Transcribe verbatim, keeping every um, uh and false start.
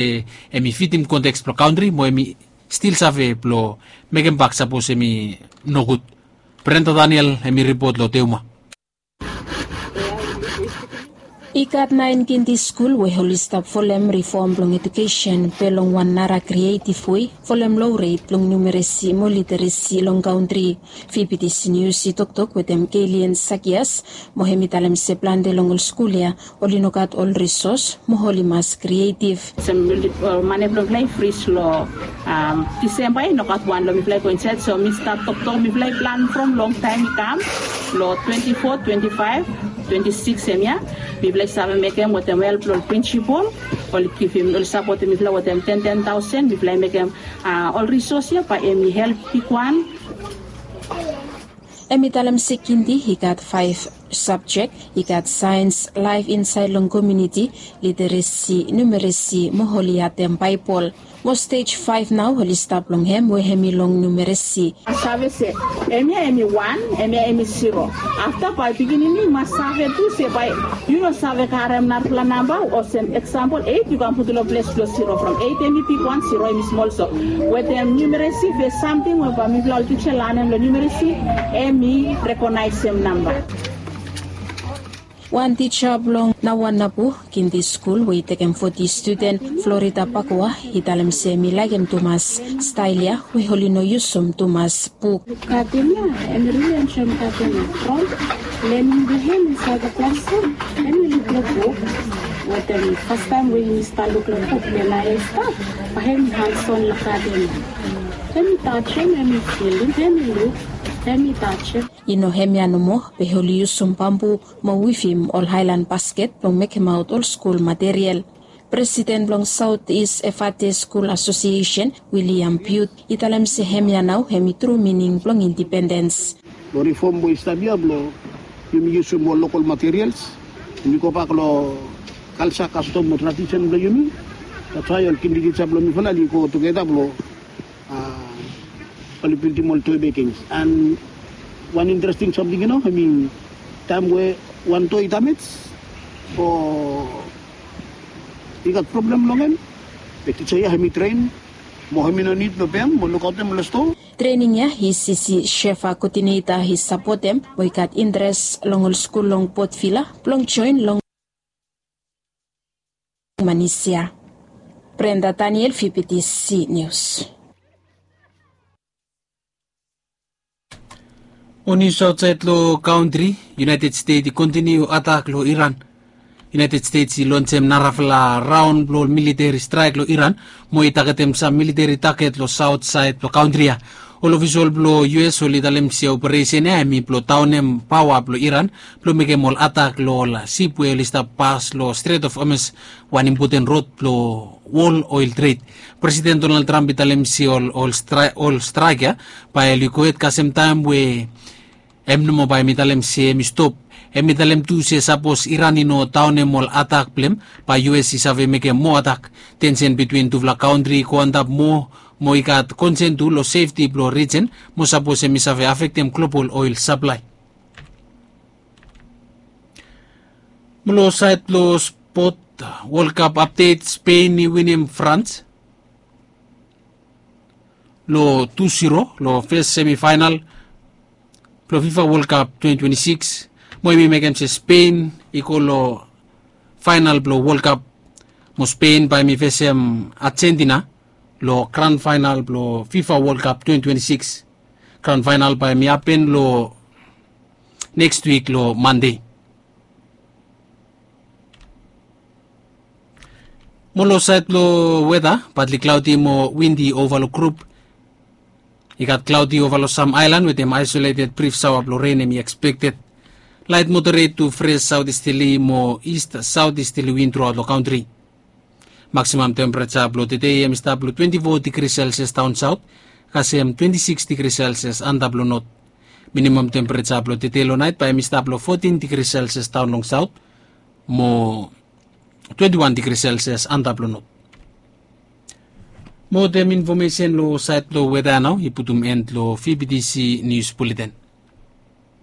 Em i fitim konteks blong kantri mo em i stil save blong mekem bak sapos em i nogud. Brenda Daniel em i ripot long Teuma. I gat naen kindi skul we oli stap folem rifom blong ejukesen be long wan nara krietiv wei, folem loret blong numeresi mo literesi long kantri. Fibidis nius i toktok wetem Kelian Sakias mo hem i talem se plante long ol skul ya oli no gat ol risos mo oli mas krietiv. Mane blong mifala i fris long Disemba i no gat wan long mifala i go insaed, so mi stap toktok mifala i plan from longtaem i kam long twenti fo, twenti faef, twenti sikis hemia. Mifala i save mekem wetem help blong ol prinsipol, oli givim, oli sapotem mifala wetem ten ten taosen. Mifala i mekem ol risos ya bae hem i help bigwan. Hem i talem se kindi i gat faef sabjek, i gat saens, laef insaed long komuniti, literesi, numeresi mo oli atem Baebol. Mo stej faef nao oli stap long hem we hem i long numeresi. Save se hemia hem i wan, hemia hem i siro. Afta bae pikinini i mas save tu se bae yu no save karem narafala namba, olsem eksampol eit yu kam putum long ples blong siro, from eit hem i bigwan, siro hem i smol. So wetem numeresi be samting we bae mifala ol tija lanem long numeresi, hem i rekonaesem namba. Wan tija blong Nawanabu kindi skul we i tekem foti studen, Florida Bakua, i talem se hem i laekem tumas stael ya we oli no yusum tumas buk. Gaden ya, hem i rili enjoem gaden ya from lening blong hem insaed long klasrum. Hem i luk long buk wetem fastaem we hem i stap luk long buk, be naoia i stap bae hem i hanson long gaden ya. Hem i tajem, hem i filim, hem i luk, hem i tajem. I no hemia nomo, be oli yusum bambu mo wivim ol haelan basket blong mekemaot ol skul material. Presiden blong Saot Is Efate Skul Asosiesen, Wiliam Biut, i talem se hemia nao hem i tru mining blong indipendens. Long rifom we i stap ya blong yumi yusum ol lokol materials, yumi gobak long kalja, kastom mo tradisen blong yumi. That's why ol kindi tija blong mifala oli go tugeta blong oli bildim ol toe bekings. And wan interesting samting, yu no, I mean, taem we wan toe i damej o i gat problem long hem, be tija ya hem i tren mo hem i no nid blong pem mo lukaotem long stoa. Trening ya i sisi Shefa koodineta i sapotem we i gat interes long ol skul long Port Vila blong joen long Manisia. Brenda Daniel, Fibidis Nius. Ol nius aotsaed long kantri, United States i kontiniu atak long Iran. United States i lonsem narafala raon blong ol militeri straek long Iran mo i tagetem sam militeri taget long saot saed blong kantri ya. Ol ofisol blong U S oli talem se operesen ya hem i blong daonem paoa blong Iran blong mekem ol atak long ol sip we oli stap pas long Strait of Hormuz, wan impoten rod blong wol oel tred. Presiden Donald Trump i talem se ol, ol straek ya bae oli gohed kasem taem we hem nomo bae hem i talem se hem i stop. Hem i talem tu se sapos Iran i no daonem ol atak blong hem, bae U S i save mekem moa atak. Tensen bitwin tufala kantri i go antap moa mo i gat konsen tu long sefti blong rijen mo sapos hem i save afektem global oel saplae. Mo long saed blong spot, World Cup apdet, Spen i winim Frans long tu ziro long fes semifaenal blong FIFA World Cup twenty twenty-six, mo hem i mekem se Spen i go long faenal blong World Cup, mo Spen bae hem i fesem Argentina long gran faenal blong FIFA World Cup twenty twenty-six. Gran faenal bae hem i hapen long neks wik long Mande. Mo long saed blong weta, badli klaodi mo windi ova long grup. I gat klaodi ova long sam aelan wetem aesoleted brif saoa blong ren hem i ekspekted. Laet moderet tu fres saotisteli mo ist saotisteli win truaot long kantri. Maksimam tempereja blong tede hem i stap long twenti fo digri selsias daon saot, kasem twenti siks digri selsias antap long not. Minimam tempereja blong tede long naet bae hem i stap long fotin digri selsias daon long saot mo twenti wan digri selsias antap long not. Mo wetem infomesen long saed blong weta ya nao i putum en long V B T C Nius Buleten.